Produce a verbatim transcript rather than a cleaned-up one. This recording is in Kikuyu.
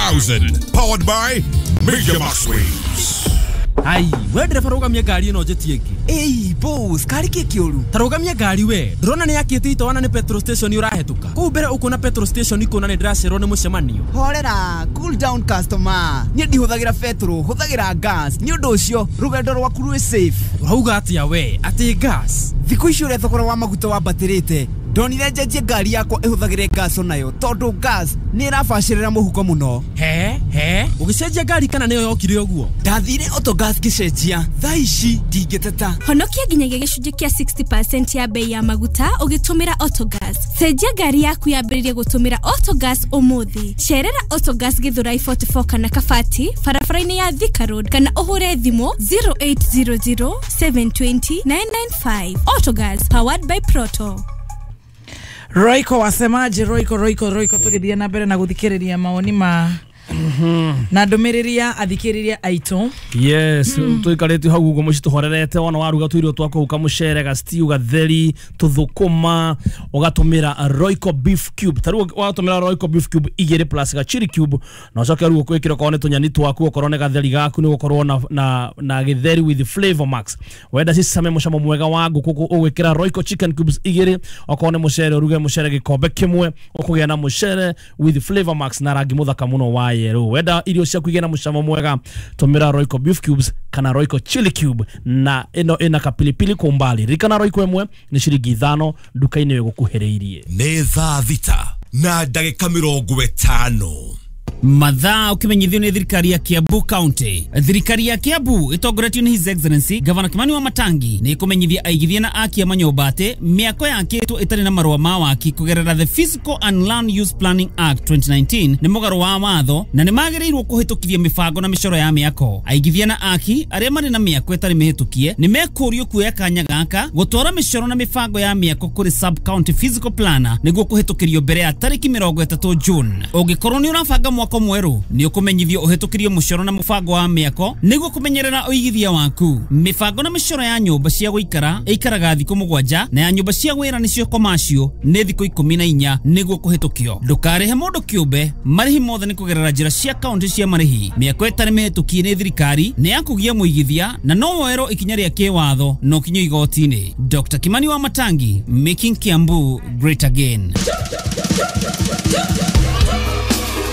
thousand. Powered by Major Max Waves. Ai, we ndereba rũgamia ngari ĩno njĩtie ĩngĩ. Ĩi boss, kari kĩ kĩũru? Ta rũgamia ngari we. Ndũrona nĩ yakĩte itoana nĩ petrol station ũrahĩtũka. Kũu mbere ũkuona petrol station ikuona nĩ ndĩracererwo nĩ mũcemanio. Horera, cool down customer. Niĩ ndihũthagĩra petrol, hũthagĩra gas. Nĩ ũndũ ũcio rũgendo rwaku rwĩ safe. Ũrauga atĩa we? Atĩ gas? Thikũ ici ũrĩa thogora wa maguta wambatĩrĩte, ndonire njenjie ngari yakwa ĩhũthagĩre gas onayo tondũ gas nĩ ĩrabacĩrĩra mũhuko mũno. He he, ũgĩcenjia ngari kana nĩyo yokire ũguo? Ndathire Autogas ngĩcenjia, thaa ici ndingĩteta. Honokia nginyagia gĩcunjĩ kĩa sixty percent ya bei ya maguta ũgĩtũmĩra Autogas. Cenjia ngari yaku yambĩrĩrie gũtũmĩra Autogas ũmũthĩ. Cerera Autogas Githurai forty-four kana Kabati barabara-inĩ ya Thika Road kana ũhũre thimũ zero eight zero zero seven two zero nine nine five. Autogas, powered by Proto. Royco wasemaje? Royco Royco Royco tugithie na mbere na guthikiriria maoni ma na ndumiriri ya athikiriria aitu. Yes, tuikarite hau uguo muci tuhorerete wona waruga tuirio twaku ukamucere ga stew gatheri tuthukuma ugatumira Royco beef cube. Taru watumira Royco beef cube igiri plus ga chili cube na ucoke ruo kwikira korwo ni tunyani twaku okorwo ni gatheri gaku ni gukorwo na na na githeri with flavor max. Wenda cicame mucamo mwega wa nguku ugwikira Royco chicken cubes igiri okorwo ni mucere uruge mucere gikombe kimwe ukugia na mucere with flavor max na rangi muthaka muno wa yellow. Wenda irio ciaku igena mucamo mwega tumira Royco beef cubes kana Royco chili cube na ino ina kapilipili kwa umbali. Ririkana Royco imwe ni ciringi ithano nduka-inĩ ĩgũkuhĩrĩirie. Nĩ thaa thita na ndagĩka mĩrongo ĩtano. Mathaa ukimenyithio ni thirikari ya Kiambu County. Thirikari ya Kiambu itongoretio ni His Excellency Governor Kimani wa Matangi ni ikumenyithia aigithia na aki a manyũmba atĩ mĩako yakĩtwo ĩtarĩ na marũa ma waki kũgerera the Physical and Land Use Planning Act twenty nineteen nĩ mũgarũ wa watho na nĩ magĩrĩirwo kũhĩtũkithia mĩbango na mĩcoro ya mĩako. Aigithia na aki arĩa marĩ na mĩako ĩtarĩ mĩhĩtũkie nĩ mekũrio kuoya kanya gaka gũtwara mĩcoro na mĩbango ya mĩako kũrĩ sub county physical planner nĩguo kũhĩtũkĩrio mbere ya tarĩki mĩrongo ĩtatũ June. Ũngĩkorwo nĩ ũrabanga mwako mwerũ nĩ ũkũmenyithio ũhĩtũkĩrio mũcoro na mũbango wa mĩako nĩguo kũmenyerera ũigithia waku. Mĩbango na mĩcoro ya nyũmba cia gũikara ĩikaraga thikũ mũgwanja na ya nyũmba cia wĩra nĩcio commercial nĩ thikũ ikũmi na inya nĩguo kũhĩtũkio. Ndũkarĩhe mũndũ kĩũmbe, marĩhi mothe nĩ kũgerera njĩra cia kaunti cia marĩhi. Mĩako ĩtarĩ mĩhĩtũkie nĩ thirikari nĩ ya kũgia mũigithia na no woerwo ikinya rĩa kĩwatho na ũkinyio igoti-inĩ. Doctor Kimani wa Matangi, making Kiambu great again.